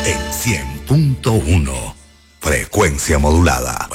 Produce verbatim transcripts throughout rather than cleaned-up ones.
En cien punto uno, frecuencia modulada.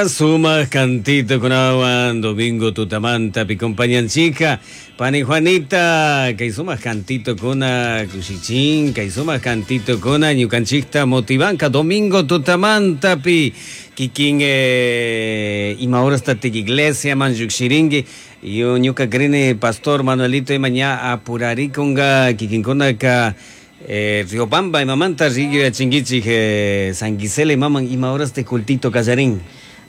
Suma cantito con agua, domingo tutamanta, pi compañanchica, pani Juanita, que suma cantito con cuchichín, que suma cantito con ñucanchicta motivanca, domingo tutamanta, pi, kikin, eh, ima hora está iglesia, manjukshiringui, yo ñuca crene pastor Manuelito y mañana apurariconga, kikin conaka, Eh, Riobamba y mamanta rigio chinguichi eh, San Gisela y maman ima horas de cultito callarín.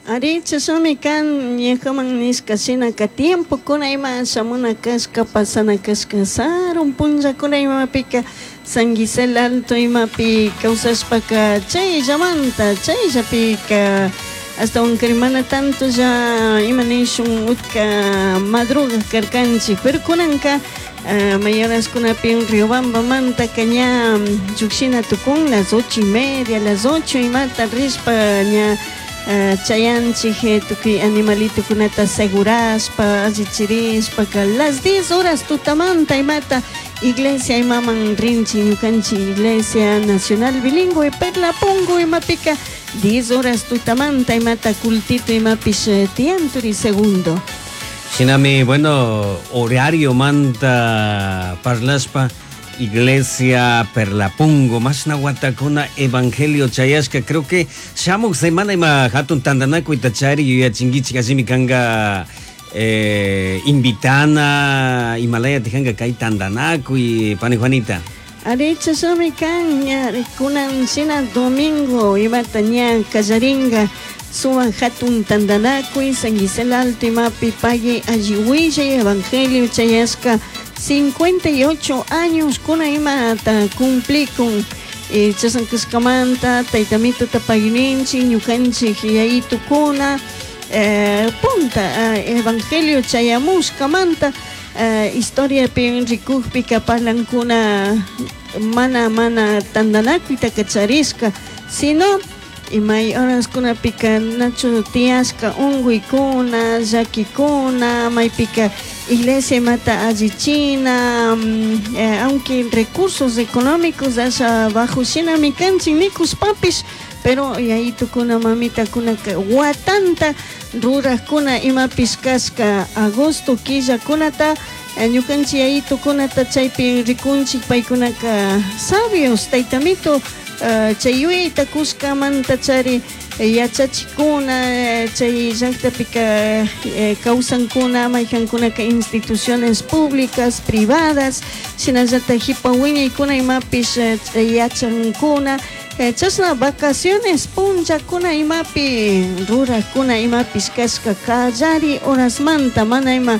Ari chasumi kan ñajaman nishka shinaka tiempo kuna ima shamuna kashka pasana kashka sarun punlla kuna imapika San Gisela Alto imapi kawsashpaka chayllamanta chayllapika hasta un mana tanto ya ima nishun utka madruga karkanchik pero kunanka Uh, mayoras kunapi Riobamba manta caña lluqshina tukun las ocho y media, las ocho y mata rispa ña uh, chayanchik tukuy animalito kunata aseguraspa allichirispa ka las diez horas tutamanta imata iglesia imaman rinchi ñukanchik Iglesia Nacional Bilingüe Perlapungo imapika diez horas tutamanta imata cultito imapish tianturi segundo. Shinami, bueno, horario manta parlaspa, Iglesia Perlapungo, más nahuatacona, Evangelio Chayashka, creo que shamuk semana ima hatun tandanaku itachari, yuya chinguichi, así mi kanga eh, invitana, Himalaya tejanga kai tandanaku y pani Juanita. Aricha shami kan, kunan shina domingo, imata ña kallaringa, suman hatun tandanakuy, San Gisela Alto imapi pague alliwilla Evangelio Chayashka, cincuenta y ocho años kuna imata cumplikun, eh, chasankaskamanta, taytamito tapaguininchi, ñukanchik yayitukuna, eh, punta, eh, Evangelio Chayamushkamanta, eh, historia pin rikukpika parlankuna mana mana tandanakuyta kacharishka, sino imay horas kunapika nacho tiashka unguykuna, llakikuna, maypika iglesia imata allichina, eh, aunque recursos económicos asha bajo shinami kanchik nikushpapish, pero yayitukuna mamitakuna watanta rurajkuna imapish kashka agosto killakunata, ñukanchik yayitukunata chaypi rikunchik paykunaka sabios taytamito, Uh, chay yuyayta kushkamanta chari yachachikuna, chay llaqtapika eh, kawsankuna maykankunaka instituciones públicas, privadas, shinallataq hipa wiñaykuna imapish yachankuna, eh, chashna vacaciones punllakuna imapi rurajkuna imapish kashka kallari horasmanta mana ima,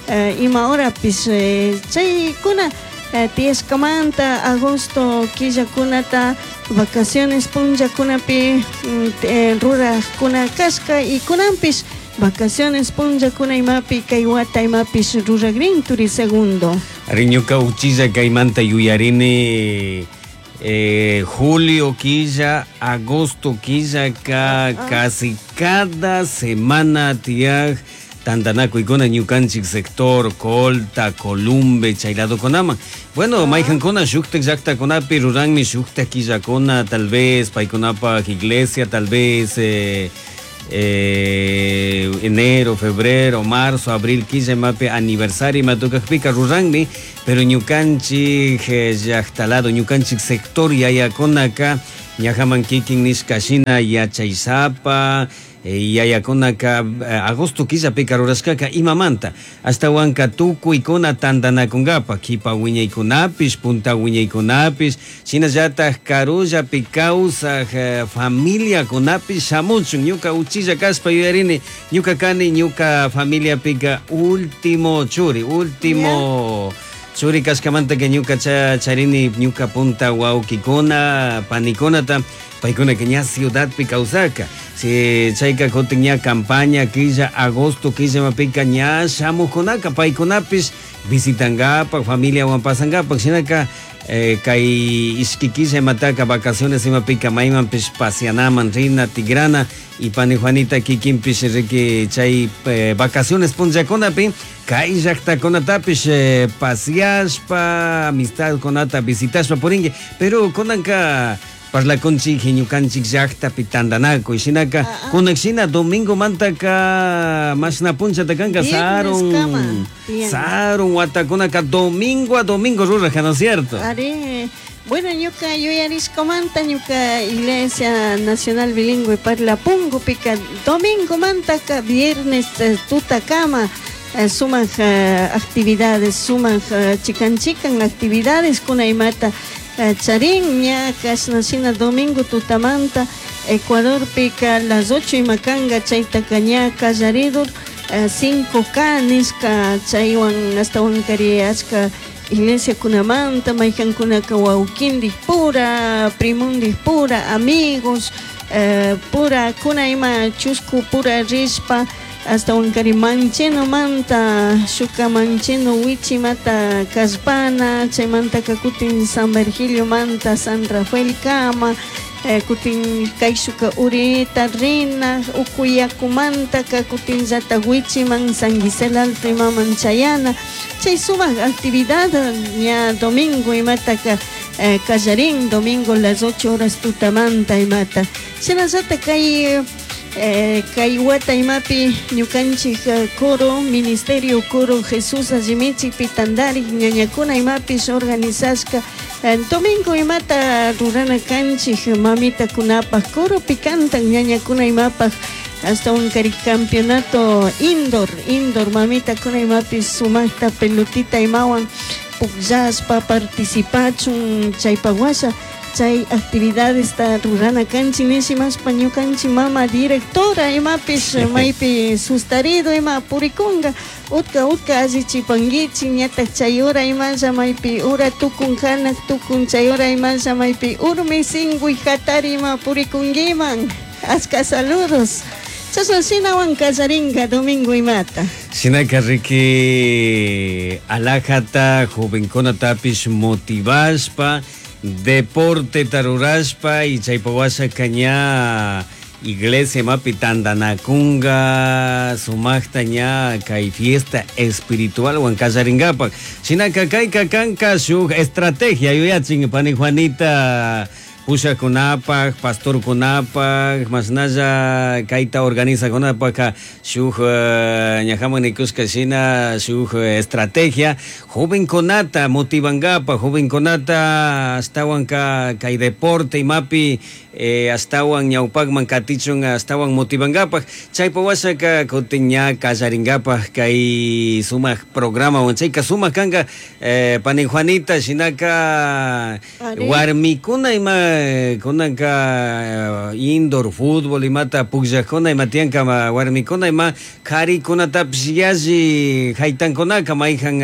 eh, ima horapish, eh, chaykuna eh, tiyashkamanta agosto killakunata vacaciones punllakunapi eh, rurajkuna kashka y kunanpish vacaciones punllakuna imapi kay wata imapish ruragrin turi segundo. Ari ñuka uchilla kaymanta yuyarini eh, julio quilla, agosto quilla ka ah. Casi cada semana tiyaj tandanakuykuna ñukanchik sector Colta, Columbe, chayladokunaman. Bueno, ah. maykankuna shuktak llaqtakunapi ruranmi shuktak killakuna, tal vez paykunapaq iglesia, tal vez eh, eh, enero, febrero, marzo, abril, killa imapi aniversario imatukaqpika ruranmi, pero ñukanchik llaqtalado, ñukanchik sector yayakunaka ñajaman kikin nishka shina yachaysapa, yayakunaka agosto killapika rurashkaka imamanta ashtawanka tukuykuna tandanakunkapa kipa wiñaykunapish punta wiñaykunapish shinallatak karullapi kawsaj familiakunapish shamuchun ñuka uchilla kashpa yuyarini ñuka kani ñuka familiapika último churi último yeah. Churi kashkamanta que ñuka cha charini ñuka punta wawkikuna panikunata paykuna que ña ciudadpi kawsaka si chayka kutin ña campaña killa agosto killa mapika ña shamukunaka paykunapish visitankapa familiawan pasankapak shinaka eh, kay ishki killa imataka vacaciones imapika maymanpish pasianaman rina tigrana y pani Juanita kikinpish riki chay eh, vacaciones punllakunapi kay llaktakunatapish eh, pasiashpa amistadkunata visitashpa purinki, pero kunanka parlakunchik ñukanchik llaktapi tantanakuy shinaka kunan shina domingo mantaka mashna punchata kanka sarun sarun watakunaka domingo a domingo ruraja, ¿no es cierto? Ari, bueno, ñuka yuyarishkamanta ñuka Iglesia Nacional Bilingüe Parlapungupika domingo mantaka viernes tutakama sumak actividades, sumak chikan chikan actividades kuna imata charin ña kashna shina domingo tutamanta Ecuadorpika las ocho imakanga chaytaka ña kallaridur cinco K nishka chaywan ashtawan kari achka iglesia kunamanta maykankunaka wawkindik pura primundik pura amigos eh, pura kuna ima chusku pura rishpa hasta kari mancheno manta shuka mancheno wichimata kallpana chaymantaka kutin San Virgilio manta San Rafael kama eh, kutin kayshuka urita rina ukuyakumantaka kutin llata wichiman San Gisel Alto imaman chayana chay sumak actividad ña domingo imataka eh, kallarin domingo las ocho horas tutamanta imata shinallata kay Eh, kay wata imapi ñukanchik coro ministerio coro Jesús allimichikpi tandarik ñañakuna imapish organizashka eh, domingo imata rurana kanchik mamitakunapaj coropi cantan ñañakuna imapaj hasta un kari campeonato indoor indoor mamitakuna imapish sumakta pelotita imawan pukllashpa participachun chaypak washa chay actividades ta rurana kanchik nishimashpa ñukanchik mama directora imapish maypi sustarido ima purikunga utka utka allichipankichik ñatak chay hora imalla maypi hora tukun hanak tukun chay hora imalla maypi urmi singuy hatari ima purikunkiman achka saludos chashna shinawan kallarinka domingo imata. Shinaka riki alajata jovenkunatapish motivashpa deporte tarurashpa y chaypawasha ña iglesia mapi tantanakunga sumakta ña kay fiesta espiritual wan kallarinkapak shinaka kayka kanka shuk estrategia yuyachin pani Juanita pushakunapaj pastorkunapaj mashnalla kayta organizakunapaj shuk ñajaman nikushka shina shuk estrategia jovenkunata motivankapaj jovenkunata ashtawan ka kay deporte imapi eh, ashtawan ñawpakman katichun ashtawan motivankapaj chaypa washaka kutin ña kallarinkapaj kay sumak programa wan chayka sumak kanka eh, pani Juanita shinaka warmikuna ima kunanka indoor fútbol imata pukllakuna ima tiyanka warmikuna ima karikunatapish yalli haytankunaka mayjan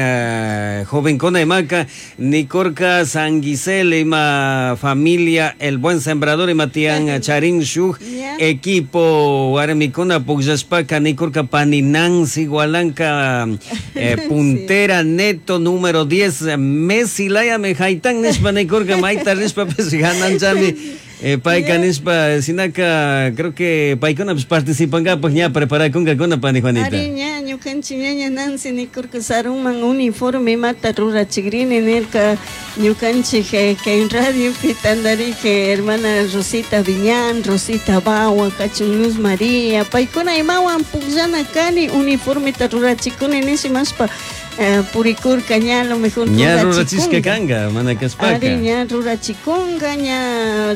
jovenkuna imaka nikurka San Gisel ima familia El Buen Sembrador ima tiyan charin shuk equipo warmikuna pukllashpaka nikurka pani Nancy Gualanca eh, puntera neto número diez Messi layami haytan nishpa nikurka mayta rishpapish gananchami eh, payka nishpa sinaka creo que paykunapish participankapak ña preparakunkakuna pani Juanita. Ari ña ñukanchik ñaña Nancy nikurka sarunman uniforme imata rurachikrini nirka ñukanchik eh, kay radiopi tandarik hermana Rosita Viñán, Rosita Bawa, kachun Luz María paykuna imawan pukllana kani uniformeta rurachikuni nishimashpa eh, purikurka ña a lo mejor ña rurachishka kanka mana kashpaka. Ari ña rurachikunga ña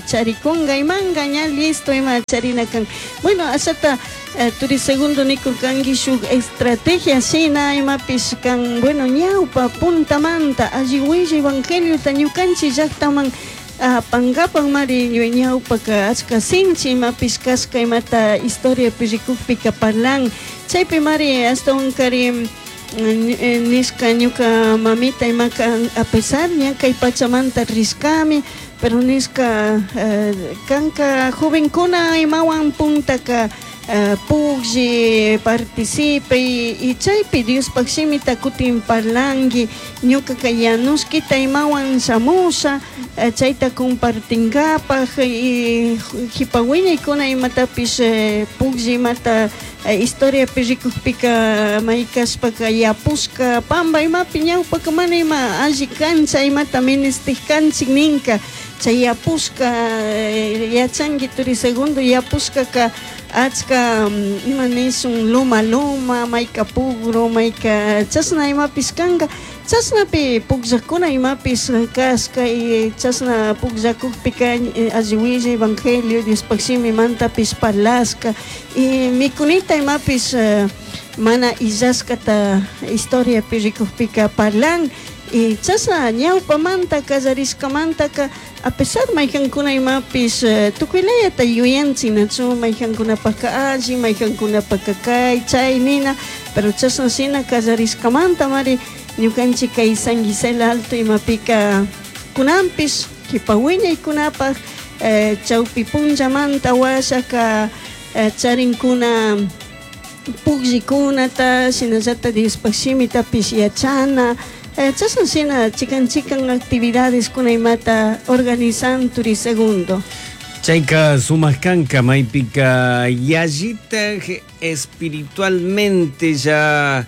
charikunga imanga ña listo ima charina kan. Bueno, ashata eh, turi segundo nikurkanki shuk estrategia shina imapish kan bueno ñawpa puntamanta alli willa evangeliota ñukanchik llaktaman apankapak mari ñawpaka achka sinchi imapish kashka imata historiapi rikukpika parlan chaypi mari ashtawan kari nishka ñuka mamita imaka a pesar ña kay pachamanta rishkami pero nishka eh, kanka jovenkuna imawan puntaka uh, puklli participe y chaypi Diospaq shimita kutin parlanki ñukaka yanushkita imawan shamusha uh, chayta compartinkapaj y jipa wiñaykuna imatapish uh, puklli imata uh, historiapi rikukpika maykashpaka yapushka pamba imapi ñawpaka mana ima alli kancha imata ministik kanchik ninka chay yapushka yachanki turi segundo yapushkaka achka ima nishun luma luma mayka pugro mayka chashna imapish kanka chashnapi pukllakuna imapish kashka y chashna pukllakukpika alli willa evangelio Diospaq shimimantapish parlashka y mikunita imapish mana illashkata historiapi rikukpika parlan y chashna ñawpamanta kallarishkamantaka a pesar maykankuna imapish tukuylayata yuyanchik nachu maykankunapaka alli maykankunapaka kay chay nina pero chashna shina kallarishkamanta mari ñukanchik kay San Gisela Alto imapika kunanpish kipa wiñaykunapaj eh, chawpi punllamanta washaka eh, charinkuna pukllikunata shinallata Diospaq shimitapish yachana eh, chashna shina chikan chikan actividades kuna imata organizan turi segundo. Chayka sumaq kanka maypika yallitaj espiritualmente ya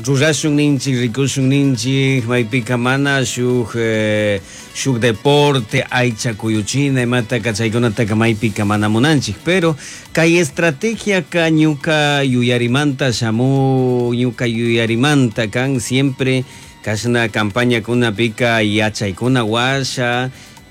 rurashun ninchik rikushun ninchik maypika mana shuk eh, shuk deporte aycha kuyuchina imataka chaykunataka maypika mana munanchik pero kay estrategia ka ñuka yuyarimanta shamu ñuka yuyarimanta kan siempre kashna campaña kunapika yachaykuna washa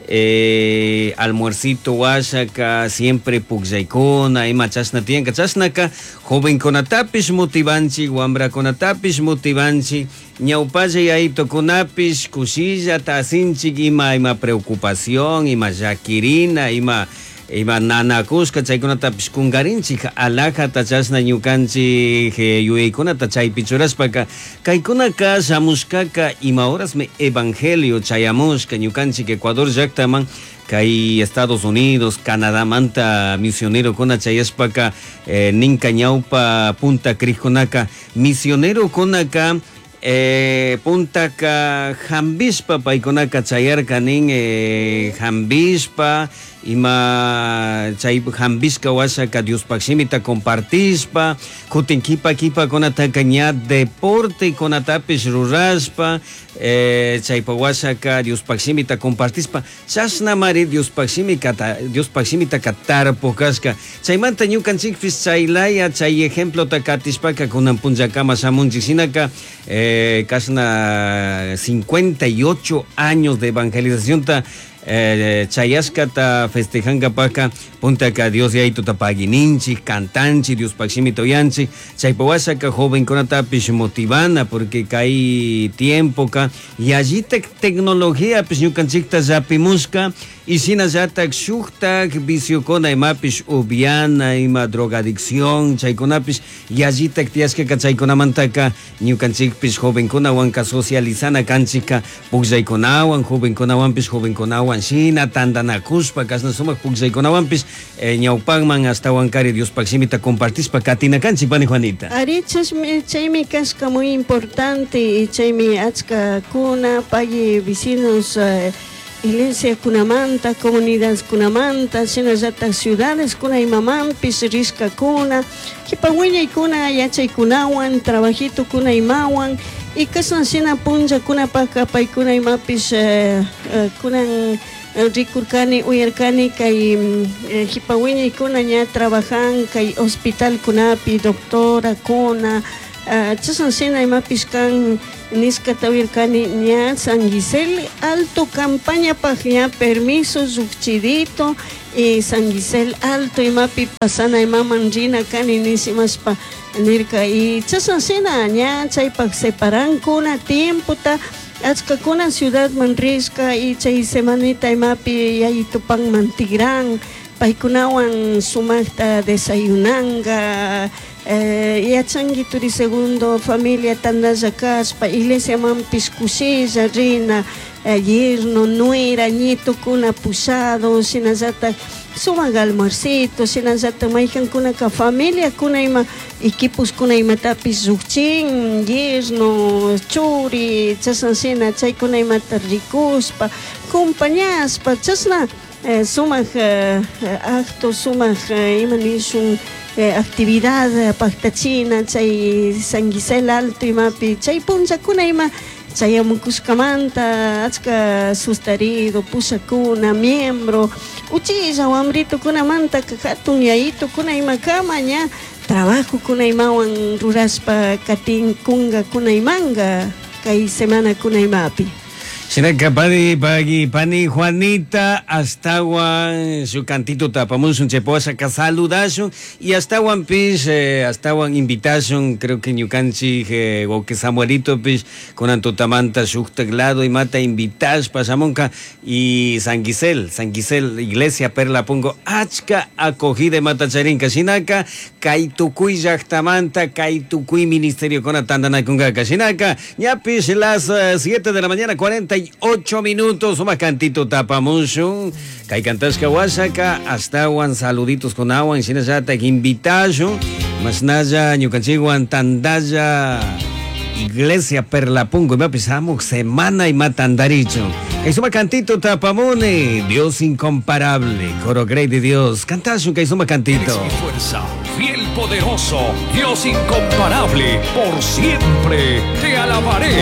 eh, almuercito washaka siempre pukllaykuna ima chashna tiyanka chashnaka jovenkunatapish motivanchik wambrakunatapish motivanchik ñawpalla yayitokunapish kushillata asinchik ima ima preocupación ima llakirina ima ima nanakushka chaykunatapish kunkarinchik alajata chashna ñukanchik eh, yuyaykunata chaypi churashpaka kaykunaka shamushkaka ima horasmi evangelio chayamushka ñukanchik Ecuador llaktaman kay Estados Unidos, Canadamanta misionerokuna chayashpaka eh, ninka ñawpa punta crijkunaka misionerokunaka eh, puntaka hambishpa paykunaka chayarka nin eh, hambishpa ima chay hambishka washaka Diospaq shimita compartishpa kutin kipa kipakunataka ña deporte kunatapish rurashpa eh, chaypa washaka Diospaq shimita compartishpa chashnamari Diospaq shimikata Diospaq shimitaka tarpuk kashka chaymanta ñukanchikpish chaylaya chay ejemplota katishpaka kunan punllakama shamunchik shinaka eh, kashna cincuenta y ocho años de evangelización ta eh, chayashkata festejankapaka puntaka Dios yayituta paguininchik cantanchik Diospaq shimita uyanchik chaypa washaka jovenkunatapish motivana porque kay tiempoka yallitak tecnologiapish ñukanchikta llapimushka y shinallatak shuktak viciokuna imapish upiana ima drogadicción chaykunapish yallitak tiyashkaka chaykunamantaka ñukanchikpish jovenkunawanka socializana kanchikka pukllaykunawan jovenkunawanpish jovenkunawan shina tantanakushpa kashna sumak pukllaykunawanpish eh, ñawpakman ashtawankari Diospaq shimita compartishpa katina kanchik pani Juanita. Ari chashmi chaymi kashka muy importante y chaymi achka kuna pagui vecinos eh, iglesia kunamanta comunidades kunamanta shinallatak ciudades kuna imamanpish rishkakuna kipa wiñaykuna yachaykunawan trabajito kuna imawan y kashna shina punllakunapaka paykuna imapish eh, eh, kunan rikurkani uyarkani kay eh, jipa wiñaykuna ña trabajan kay hospital kunapi doctora kuna uh, chashna shina imapish kan nishkata uyarkani ña San Gisela Alto campañapaj ña permiso llukchidito y San Gisela Alto imapi pasana imaman rina kani nishimashpa nirka y chashna shina ña chaypak separankuna tiempota achkakuna ciudadman rishka y chay semanita imapi yayitupanman tigran paykunawan sumakta desayunanka eh, yachanki turi segundo familia tandalla kashpa iglesiamanpish kushilla rina eh, yerno nuera nietokuna pushado shinallatak sumak almuercito shinallatak maykankunaka familiakuna ima equiposkuna imatapish llukchin yerno churi chashna shina chaykuna imata rikushpa compañashpa chashna eh, sumak eh, acto sumak eh, ima nishun eh, actividad eh, paktachina chay San Gisel Alto imapi chay punllakuna ima chayamukushkamanta achka sustarido pushakuna miembro uchilla wambritukunamanta hatun yayitukuna imakama ña trabajokuna imawan rurashpa katinkunga kunaymanga kay semana kunaymapi. Shinaka pani pagui pani Juanita ashtawan shu cantito tapamushun chaypawashaka saludashun y ashtawan pish eh, ashtawan invitashun creo que ñukanchik eh, wawqi Samuelito pish kunan tutamanta shuktak lado imata invitashpa shamunka y San Gisel San Gisel Iglesia Perla Pungo achka acogida imata charinka shinaka kay tukuy llaktamanta kay tukuy ministerio kuna tantanakunkaka shinaka ñapish las siete de la mañana cuarenta y ocho minutos, sumak cantito tapamushun, kay kantashka washaka, ashtawan saluditos con awan, shinallatak invitashun, mashnalla ñukanchikwan tandalla Iglesia Perla Pungo, imapis hamuk semana imatandarichu. Kay sumak cantito tapamuni, Dios incomparable, coro grey de Dios, kantashun kay sumak cantito. Eres mi fuerza, fiel poderoso, Dios incomparable, por siempre te alabaré.